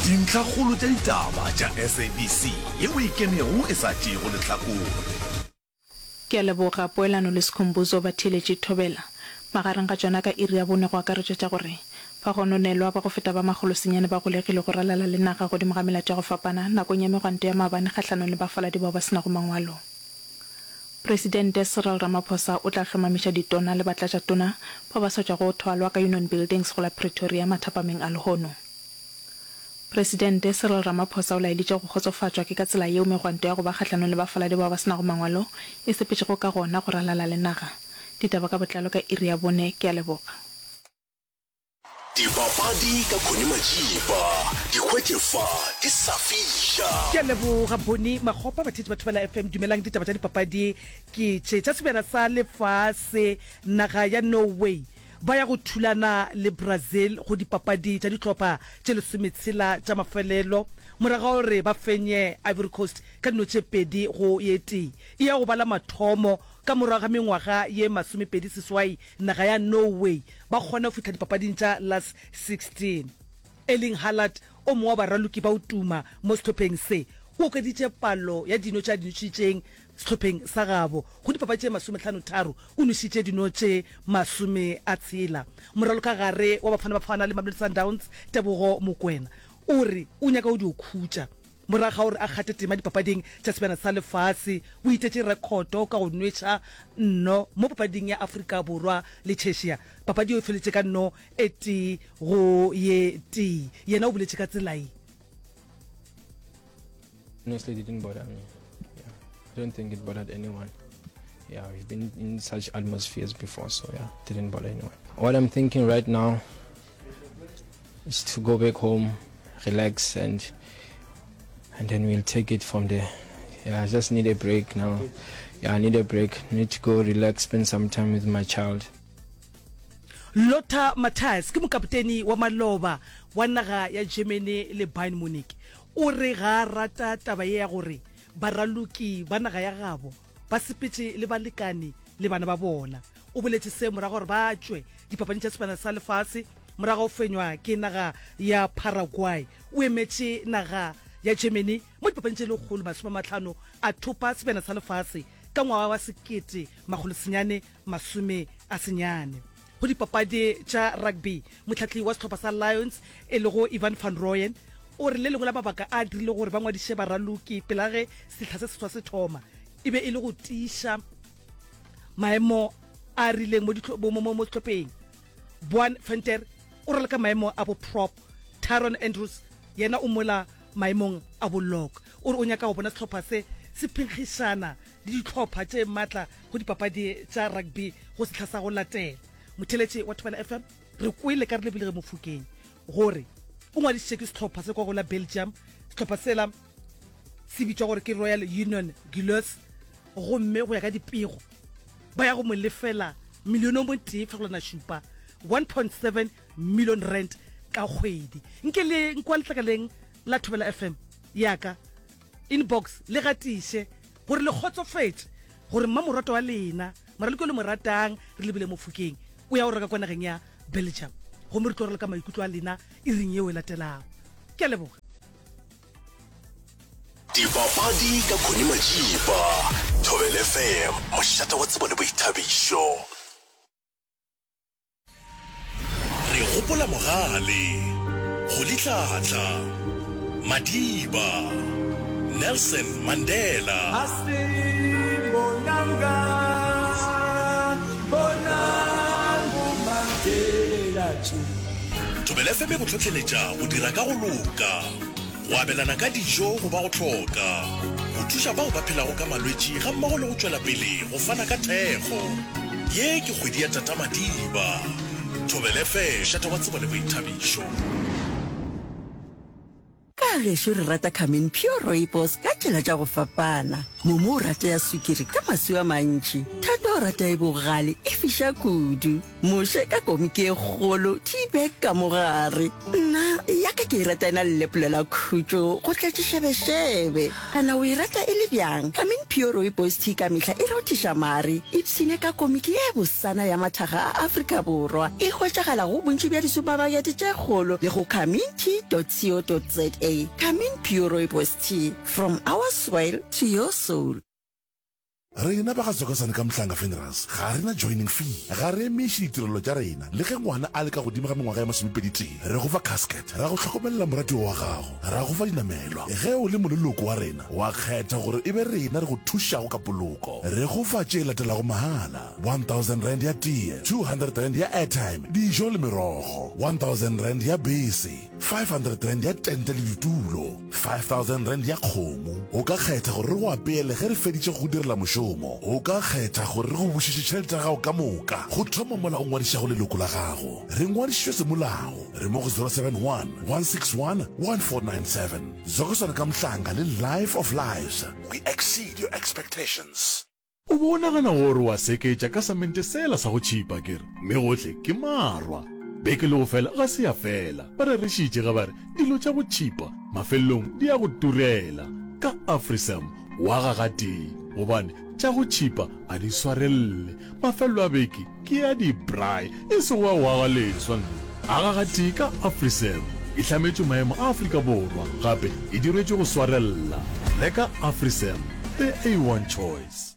Dintlhakgolo tša ditaba tša SABC yeo e kenego e sa tšeego lehlakore. Ke a leboga, Poelano le Skhumbuzo ba theeletše Thobela. Magareng ga tšona ka iri ya bone go akaretšwa tša gore, Bagononelwa ba go feta ba makgolosenyane ba golegilwe go ralala le naga godimo ga melato ya go fapana nakong ya megwanto ya maabane kgahlanong le bafaladi bao ba se nago mangwalo. Presidente Cyril Ramaphosa o tla hlomamiša ditona le batlatšatona bao ba sa tšwago go thwalwa ka Union Buildings go la Pretoria mathapameng a lehono. Presidente Cyril Ramaphosa o laeditše go kgotsofatšwa ke ka tsela yeo megwanto ya go ba kgahlanong le bafaladi bao ba se nago mangwalo e sepetšego ka gona go ralala le naga. Ditaba ka botlalo ka iri ya bone. Ke a leboga. Dipapadi ka Connie Majiba, di hwetše fa di sa fiša. Ke a leboga Bonnie Makgopa. Batheetši ba Thobela FM, dumelang. Ditaba tša dipapadi ke tše tša Sebjana sa Lefase. Naga ya Norway ba ya go thulana le Brazil go dipapadi tša dihlopha tše lesometshela tša mafelelo morago ga gore ba fenye Ivory Coast ka dino tše pedi go ye tee. E ya go ba la mathomo ka morago ga mengwaga ye 28 naga ya Norway ba kgona go fihla dipapading tša Last 16. Erling Haaland, o mongwe wa baraloki ba go tuma mo sehlopheng se, o okeditše palo ya dino tše a di nošitšeng sehlopheng sa gabo go dipapadi tše masomehlanotharo, o nošitše dino tše masomeatshela. Moralokagare wa Bafana Bafana le Mamelodi Sundowns, Tebogo Mokoena, o re o nyaka go dio khutša Morago ga gore a kgathe tema dipapading tša Sebjana sa Lefase, o itetše rekhoto ka go nweša nno mo papading ya Afrika Borwa le Czechia. Papadi yeo e feletše ka nno e tee go ye tee. Yena o boletše ka tsela ye. Honestly, it didn't bother me. Yeah. I don't think it bothered anyone. Yeah, we've been in such atmospheres before, so yeah, didn't bother anyone. What I'm thinking right now is to go back home, relax, and and then we'll take it from there. Yeah, I just need a break now. Yeah, I need a break. Need to go relax, spend some time with my child. Lothar Matthäus ke mokapoteni wa maloba wa naga ya Germany le Bayern Munich. O re ga a rata taba ye ya gore baraloki ba naga ya gabo ba sepetše le balekane le bana ba bona. O boletše se morago gore ba tšwe dipapading tša Sebjana sa Lefase morago ga go fenywa ke naga ya Paraguay. O emetše naga ya Germany mo dipapading tše 150 a thopa Sebjana sa Lefase ka ngwaga wa 1990. Go dipapadi tša rugby, mohlahli wa sehlopha sa Lions e lego Ivan van Rooyen o re le lengwe la mabaka a dirilego gore ba ngwadiše baraloki pele ga ge sehla se seswa se thoma e be e le go tiiša maemo a rileng mo sehlopheng. Boan Venter o raloka maemo a bo prop, Tyron Andrews yena o mola maemong a bo lock. O re o nyaka go bona sehlopha se se phenkgišana le dihlopha tše matla go dipapadi tša rugby go sehla sa go latela. Motheeletši wa Thobela FM, re kwele ka Relebohile Mofokeng gore o ngwadišitše ke sehlopha se kwa go la Belgium. Sehlopha sela se bitšwa gore ke Royal Union Gilloise gomme go ya ka dipego ba ya go mo lefela milione o motee fegelwana šupa, 1.7 million rand, ka kgwedi. Nke le nkwa letlakaleng la Thobela FM ya ka inbox le gatiše gore le kgotsofetše gore mmamoratwa wa lena, moraloki yo le mo ratang, re lebile Mofokeng, o ya go reka kwa nageng ya Belgium. Gomme re tlo raloka maikutlo a lena iring yeo e latelago. Ke a leboga. Dipapadi ka Connie Majiba, Thobela FM, mošate wa tsebo le boithabišo. Re gopola Mogale, Rolihlahla, Madiba, Nelson Mandela. Thobela FM e go hlohleletša go dira ka go loka, go abelana ka dijo go ba go hloka, go thuša bao ba phelago ka malwetši gammogo le go tšwela pele go fana ka thekgo. Ye ke kgwedi ya Tata Madiba. Thobela FM, mošate wa tsebo le boithabišo. Ka gešo re rata Carmen Pure Rooibos ka tšela tša go fapana. Momo o rata ya sukiri ka maswi a mantši. Thato o rata e bogale e fiša kudu. Moshe ka komiki e kgolo, tea bag ka mo gare. Nna ya ka ke e rata e na le lepolo la khutšo go tletše šebešebe. Kana o e rata e le bjang? Carmen Pure. Pure Rooibos Tea ka mehla e rothiša mare. Ipshine ka komiki ye bosana ya mathaga a Afrika Borwa. E hwetšagala go bontši bja disupamakete tše kgolo le go carmintea.co.za. Carmin Pure Rooibos Tea, from our soil to your soul. Rena ba ga Tsokosane ka Mhlanga Funerals ga re na joining fee, ga re emiše ditirelo tša rena le ge ngwana a le ka godimo ga mengwaga ya masomepeditee. Re go fa casket, ra go hlokomelela moratiwa wa gago, ra go fa dinamelwa. Ge o le moleloko wa rena, wa kgetha gore e be rena re go thušago ka poloko. Re go fa tše latelago mahala, R1000 ya tee, R200 ya airtime, dijo le merogo, R1000 ya bese, R500 ya tente le ditulo, R5000 ya kgomo. O ka kgetha gore re go apeele ge re feditše go go direla mošomo. O ka kgetha gore re go bušetše tšhelete ya gago ka moka go thoma mola o ngwadišago leloko la gago. Re ngwadišitšwe semolao. Re mo go 071 161 1497. Zokosana ka Mhlanga le Life of Lives. We exceed your expectations. O be o nagana gore o a seketša ka samente sela sa go tšhipa, ke re, mme gohle ke marwa. Beke le go fela ga se ya fela. Ba rerešitše ge ba re dilo tša go tšhipa mafelelong di a go turela. Ka AfriSam o aga gatee, gobane tša go tšhipa a di swarelele. Mafelelo a beke ke a di-braai, e sego a go aga leswa. Nna aga gatee ka AfriSam. E hlametšwe maemo a Afrika Borwa, gape e diretšwe go swarella. Reka AfriSam, the A1 choice.